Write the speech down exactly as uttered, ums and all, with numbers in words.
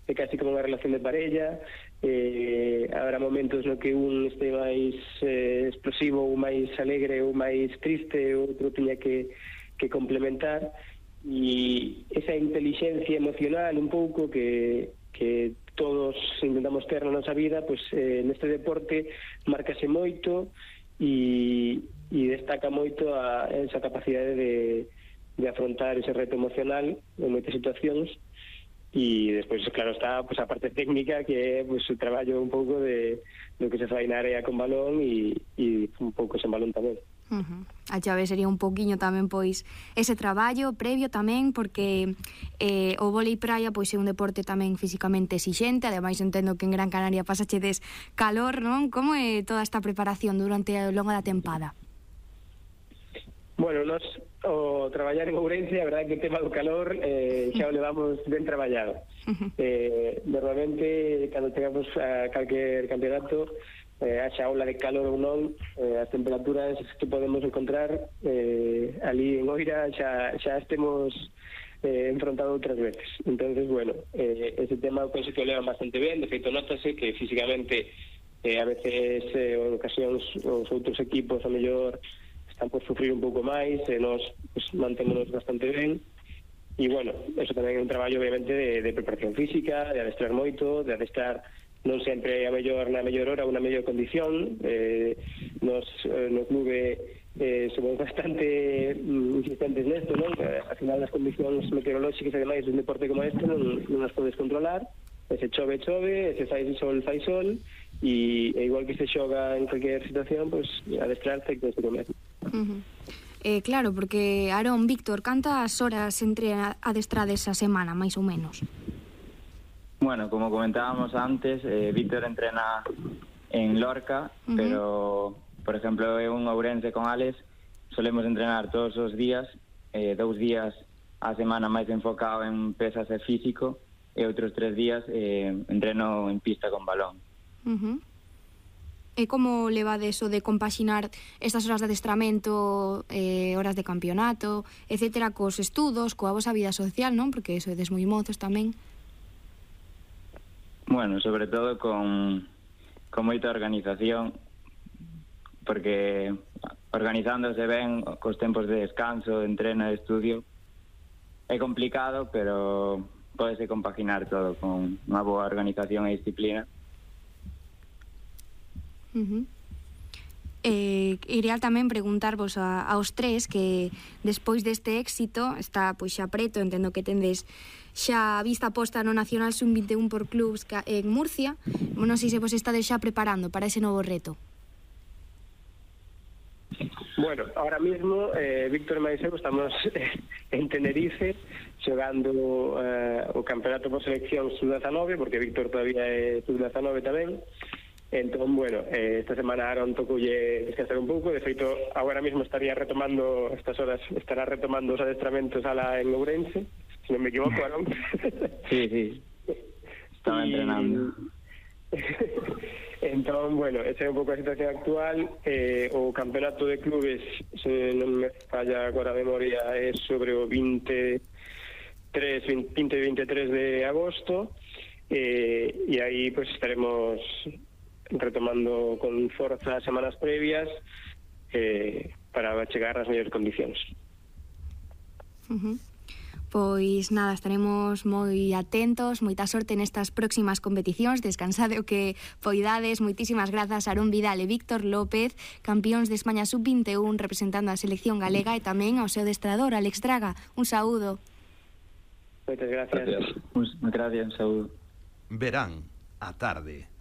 é casi como unha relación de parella, eh, habrá momentos no que un este máis eh, explosivo ou máis alegre ou máis triste, o outro tiña que, que complementar, e esa inteligencia emocional un pouco que, que todos intentamos ter na nosa vida, pois eh, neste deporte marcase moito e, e destaca moito a esa capacidade de de afrontar ese reto emocional en moitas situacións, e despois, claro, está pues, a parte técnica, que é pues, o traballo un pouco de do que se fai na área con balón e, e un pouco sen balón tamén. Uh-huh. A chave sería un pouquiño tamén pois ese traballo previo tamén, porque eh, o vólei praia pois é un deporte tamén fisicamente exixente. Ademais entendo que en Gran Canaria pasachedes calor, non? Como é toda esta preparación durante a longa da tempada? Bueno, nos o traballar en Ourense, a verdade que o tema do calor eh, xa o levamos ben traballado. Eh, normalmente, cando chegamos a calquer campeonato, eh, haxa aula de calor ou non, eh, as temperaturas que podemos encontrar eh, ali en Oira xa, xa estemos eh, enfrontado outras veces. Entonces, bueno, eh, ese tema penso que o levan bastante ben. De feito, notase que físicamente eh, a veces, eh, en ocasións, os outros equipos, a mellor, están por sufrir un pouco máis, e nos pues, mantémonos bastante ben, e bueno, eso tamén é un traballo obviamente de, de preparación física, de adestrar moito, de adestrar non sempre a mellor na mellor hora ou na mellor condición. eh, nos, eh, no clube eh, somos bastante mm, insistentes nesto, non? Que, ao final as condicións meteorolóxicas e demais dun deporte como este non, non as podes controlar, e se chove, chove, e se fai sol, fai sol, e, e igual que se xoga en cualquier situación, pois pues, adestrarse que se come. Uh-huh. Eh, claro, porque Aarón, Víctor, cantas horas entre adestrades a semana, máis ou menos? Bueno, como comentábamos antes, eh, Víctor entrena en Lorca, uh-huh. pero, por exemplo, eu en Ourense con Alex solemos entrenar todos os días, eh, dous días a semana máis enfocado en pesas e físico, e outros tres días eh, entreno en pista con balón. Uh-huh. E como levades o de compaxinar estas horas de adestramento, eh, horas de campeonato, etcétera, cos estudos, coa vosa vida social, non? Porque eso é moi mozos tamén. Bueno, sobre todo con, con moita organización, porque organizándose ben cos tempos de descanso, de entreno, de estudio, é complicado, pero pódese compaginar todo con unha boa organización e disciplina. Uh-huh. Eh, iría tamén preguntarvos a, aos tres que despois deste éxito está pois xa preto, entendo que tendes xa a vista posta no Nacional sub vinte e un por clubs en Murcia. Non sei se vos estades xa preparando para ese novo reto. Bueno, ahora mismo eh, Víctor e máis eu estamos en Tenerife xogando eh, o campeonato por selección sub dezanove, porque Víctor todavía é sub dezanove tamén. Entón, bueno, eh, esta semana Aaron tocoulle descansar un pouco. De feito, agora mismo estaría retomando, estas horas, estará retomando os adestramentos ala en Ourense, se non me equivoco, Aaron. Sí, sí, estaba y... entrenando. Entón, bueno, esa é un pouco a situación actual. eh, O campeonato de clubes, se non me falla agora a memoria, é sobre o veintitrés, vinte e veintitrés de agosto, eh, e aí pues estaremos retomando con forza as semanas previas eh, para chegar ás mellores condicións. Uh-huh. Pois nada, estaremos moi atentos, moita sorte nestas próximas competicións, descansade o que poidades. Moitísimas grazas Aarón Vidal e Víctor López, campións de España sub vinte e un representando a selección galega, e tamén ao seu adestrador Alex Draga. Un saúdo. Moitas gracias. Moitas gracias, un saúdo. Verán a tarde.